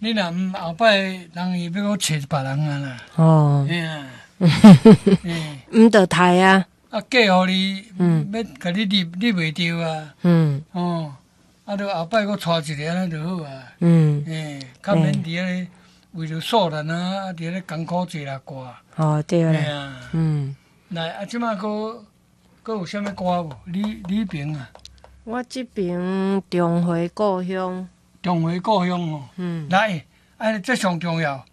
你若毋後擺人伊欲閣揣別人啊啦。哦。嘿啊。毋著刣啊。啊，嫁予你，欲共你入入袂著啊。哦，啊，著後擺閣娶一个按呢就好啊。嘿，較免佇遐咧為著數難啊，啊，佇遐咧艱苦濟來掛。哦，對啦。嘿啊。來，啊，這擺閣閣有啥物歌無？你彼爿啊？我這爿重回故鄉。重回故鄉哦。來，啊，這上重要。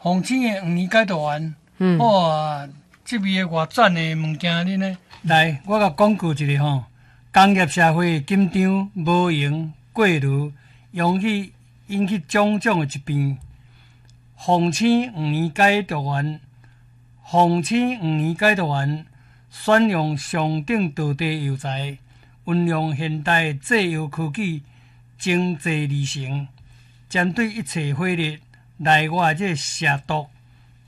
鳳青的黃連解毒丸。哇，這味的偌讚的物件，恁呢？來，我共廣告一下吼。工業社會緊張、無閒、過勞，容易引起種種的疾病。鳳青黃連解毒丸，鳳青黃連解毒丸，選用上等道地藥材，運用現代製藥科技精製而成，針對一切火熱、內外這個邪毒，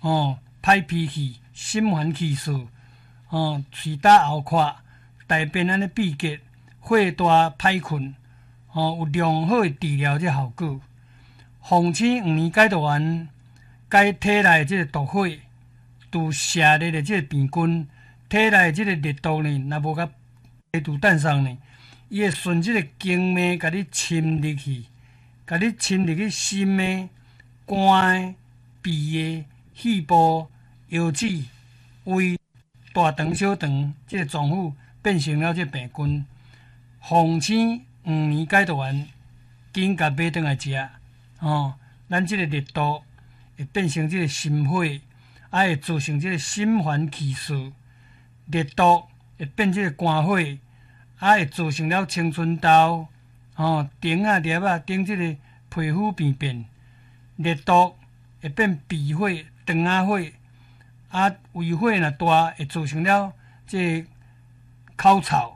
哦，歹脾氣、心煩氣躁，哦，喙焦喉渴、大便按呢秘結、火大歹睏，哦，有良好的治療這效果。鳳青黃連解毒丸，解體內這個毒火，除邪熱的這個病菌，體內這個熱毒呢，若無共排除散送呢，伊會順這個經脈共你侵入去，共你侵入去心的、肝的、脾的、肺部、腰子、胃、大腸、小腸這個臟腑，變成了這個病菌。鳳青黃連解毒丸，緊共買轉來食，吼，咱這個熱毒會變成這個心火，啊會造成這個心煩氣躁，熱毒會變這個肝火，啊會造成了青春痘，吼，腸仔粒仔頂這個皮膚病變，熱毒會變脾火、腸仔火，啊胃火若大會造成了這個口臭，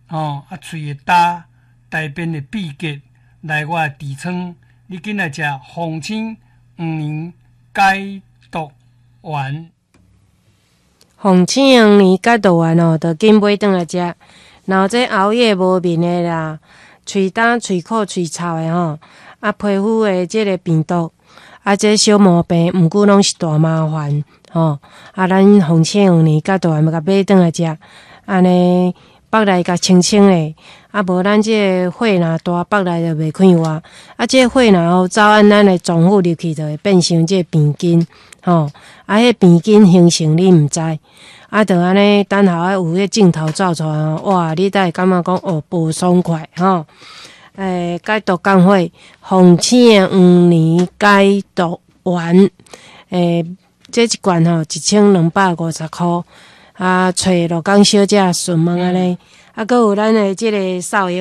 吼，啊喙會焦，大便會秘結，內外痔瘡，你緊來食鳳青黃連解毒丸。鳳青黃連解毒丸哦，就緊買轉來食。然後這熬夜無眠的啦，喙焦、喙苦、喙臭的吼，啊皮膚的這個病毒，啊這小毛病，毋過攏是大麻煩吼。啊，咱鳳青黃連解毒丸欲共買轉來食，按呢腹內共清清的，啊無咱這個火若大，腹內就袂快活。啊，這個火若吼走按咱的臟腑入去，就會變成這個病菌，吼。啊，彼病菌形成你毋知，啊，就按呢等下有彼鏡頭照出來吼，哇，你才會感覺講哦，無爽快吼。解毒降火，鳳青黃連解毒丸，這一罐吼1250箍。啊，揣鹿港小姐詢問按呢，啊，閣有咱的這个掃藥仔。